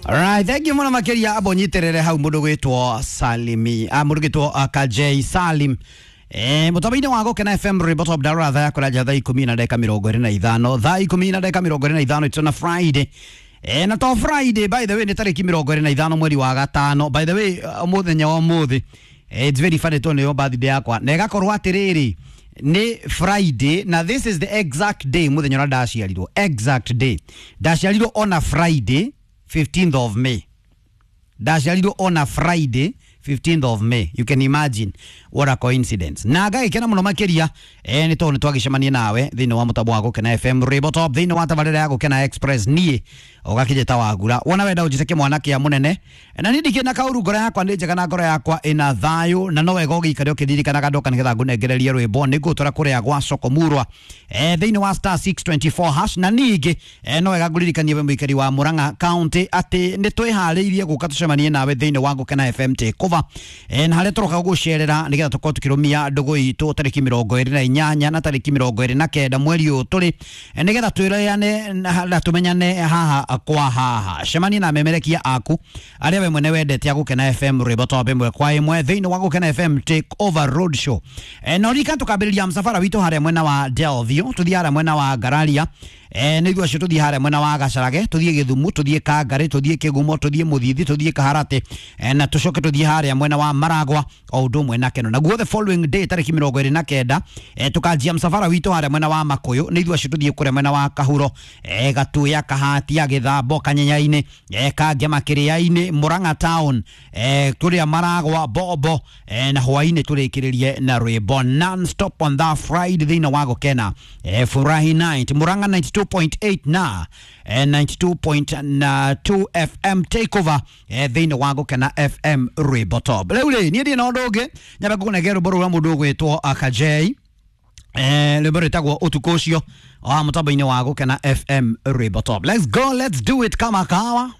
Alright, thank you muno makiria abo nyiterere hau mundu gwitwo Salimi, mundu gwitwo Kajei Salim. Mutambo-inĩ wa Gũkena FM rwĩmbo top darora thaa yakũra nja thaa ikũmi na ndagĩka mĩrongo ĩrĩ na ithano, thaa ikũmi na ndagĩka mĩrongo ĩrĩ na ithano. It's on a Friday. Na to Friday, by the way, nĩ tarĩki 25 mweri wa gatano. By the way, mũthenya wa ũmũthĩ, it's very funny tondũ nĩyo birthday yakwa na ĩgakorwo atĩrĩrĩ nĩ Friday, na this is the exact day mũthenya ũrĩa ndaciarirwo. Exact day ndaciarirwo on a Friday, 15th of May. Ndaciarirwo on a Friday, 15th of May. You can imagine what a coincidence. Na ngagĩkena mũno makĩria nĩ tondũ nĩ twagĩcemania nawe thĩinĩ wa mũtambo wa Gũkena FM Rwĩmbo Top, thĩinĩ wa tabarĩra ya Gũkena Express. Niĩ ũgakĩnjĩta Wagura, wona wenda ũnjĩte kĩmwana kĩa mũnene, na niĩ ndikĩrĩ na kaũru. Ngoro yakwa nĩ njega na ngoro yakwa ĩna thayũ, na no wega ũgĩikare ũkĩririkanaga ndoka nĩgetha ngũnengererie rwĩmbo nĩ ngũtwara kũrĩa gwa Sokomurwa thĩinĩ wa *624#. Na ningĩ no wega ngũririkanie we mũikari wa Murang'a County atĩ nĩ twĩharĩirie gũka tũcemanie nawe thĩinĩ wa Gũkena FM Takeover, na harĩa tũroka gũgũcerera nĩgetha tũkorwo tũkĩrũmia ndũgũ itũ tarĩki 28 na tarĩki 29 mweri ũyũ tũrĩ, nĩgetha twĩrane na tũmenyane haha kwa haha. Cemania na memerekia aku arĩa we mwene wendete a Gũkena FM rwĩmbo top ĩmwe kwa ĩmwe thĩinĩ wa Gũkena FM Take Over Road Show. Na ũririkane tũkambĩrĩria msafara witũ harĩa mwena wa Delview, tũthiĩ harĩa mwena wa Ngararia, nĩ ithuĩ acio tũthiĩ harĩa mwena wa Gacarage, tũthiĩ Gĩthumu, tũthiĩ Kangarĩ, tũthiĩ Kĩgumo, tũthiĩ Mũthithi, tũthiĩ Kaharatĩ, na tũcoke tũthiĩ harĩa mwena wa Maragwa o ũndũ ũmwe na Keno. Naguo the following day, tarĩki 29, tũkanjia msafara witũ harĩa mwena wa Makũyũ, nĩ ithuĩ acio tũthiĩ kũrĩa mwena wa Kahuro, Gatuya, Kahatia, Gĩthambo, Kanyenyainĩ, Kangema, Kĩrĩa-inĩ, Murang'a town, kũrĩa Maragwa, Bombo, na hwainĩ tũrĩkĩrĩrie na rwĩmbo non stop on that Friday thĩinĩ wa Gũkena Furahi Night, Murang'a 92.8 na 92.2 FM Takeover, thĩinĩ wa Gũkena FM rwĩmbo top. Rĩu rĩ, niĩ ndirĩ na ũndũ ũngĩ, nyambe ngũkũnengere rwĩmbo rũrĩa mũndũ ũgwĩtwo Akajei, rwĩmbo rwĩtagwo Ũtukũ Ũcio, wa mũtambo-inĩ wa Gũkena FM rwĩmbo top. Let's go, let's do it kama kawa.